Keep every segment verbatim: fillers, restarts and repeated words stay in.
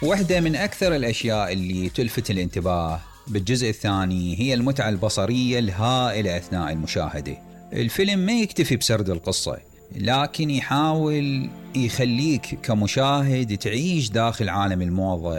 واحدة من أكثر الأشياء اللي تلفت الانتباه بالجزء الثاني هي المتعة البصرية الهائلة أثناء المشاهدة. الفيلم ما يكتفي بسرد القصة، لكن يحاول يخليك كمشاهد تعيش داخل عالم الموضة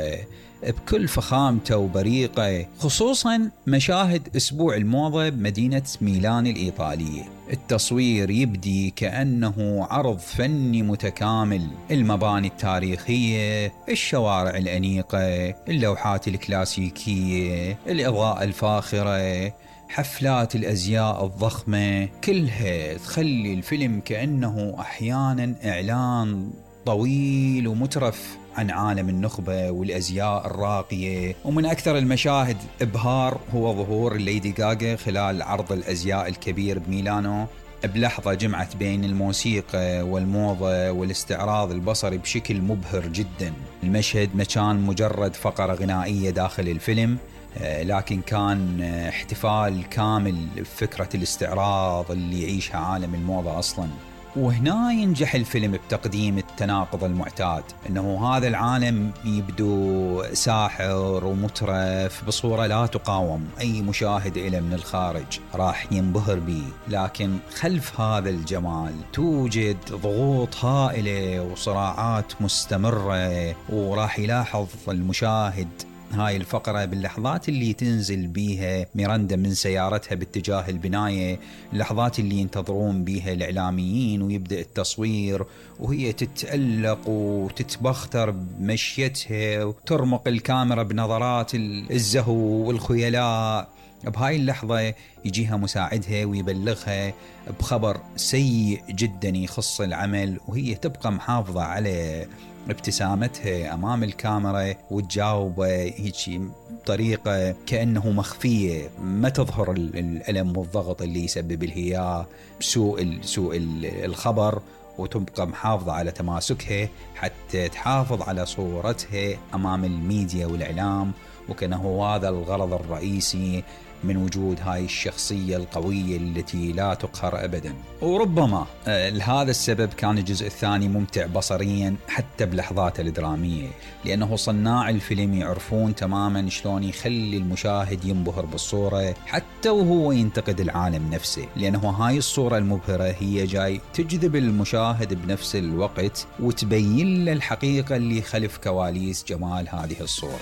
بكل فخامته وبريقه، خصوصا مشاهد أسبوع الموضة بمدينة ميلان الإيطالية. التصوير يبدي كأنه عرض فني متكامل، المباني التاريخية، الشوارع الأنيقة، اللوحات الكلاسيكية، الإضاءة الفاخرة، حفلات الأزياء الضخمة، كلها تخلي الفيلم كأنه أحيانا إعلان طويل ومترف عن عالم النخبة والأزياء الراقية. ومن أكثر المشاهد إبهار هو ظهور ليدي غاغا خلال عرض الأزياء الكبير بميلانو، بلحظة جمعت بين الموسيقى والموضة والاستعراض البصري بشكل مبهر جدا. المشهد ما كان مجرد فقرة غنائية داخل الفيلم، لكن كان احتفال كامل بفكرة الاستعراض اللي يعيشها عالم الموضة أصلا. وهنا ينجح الفيلم بتقديم التناقض المعتاد، أنه هذا العالم يبدو ساحر ومترف بصورة لا تقاوم، أي مشاهد إله من الخارج راح ينبهر به، لكن خلف هذا الجمال توجد ضغوط هائلة وصراعات مستمرة. وراح يلاحظ المشاهد هاي الفقرة باللحظات اللي تنزل بيها ميراندا من سيارتها باتجاه البناية، اللحظات اللي ينتظرون بيها الإعلاميين ويبدأ التصوير وهي تتألق وتتبختر بمشيتها وترمق الكاميرا بنظرات الزهو والخيلاء. بهاي اللحظة يجيها مساعدها ويبلغها بخبر سيء جدا يخص العمل، وهي تبقى محافظة على ابتسامتها أمام الكاميرا وتجاوبه هيك بطريقة كأنه مخفية، ما تظهر الألم والضغط اللي يسبب الهياء سوء سوء الخبر، وتبقى محافظة على تماسكها حتى تحافظ على صورتها أمام الميديا والإعلام، وكأنه هذا الغرض الرئيسي من وجود هاي الشخصية القوية التي لا تقهر أبدا. وربما لهذا السبب كان الجزء الثاني ممتع بصريا حتى بلحظاته الدرامية، لأنه صناع الفيلم يعرفون تماما شلون يخلي المشاهد ينبهر بالصورة حتى وهو ينتقد العالم نفسه، لأنه هاي الصورة المبهرة هي جاي تجذب المشاهد بنفس الوقت وتبين له الحقيقة اللي خلف كواليس جمال هذه الصورة.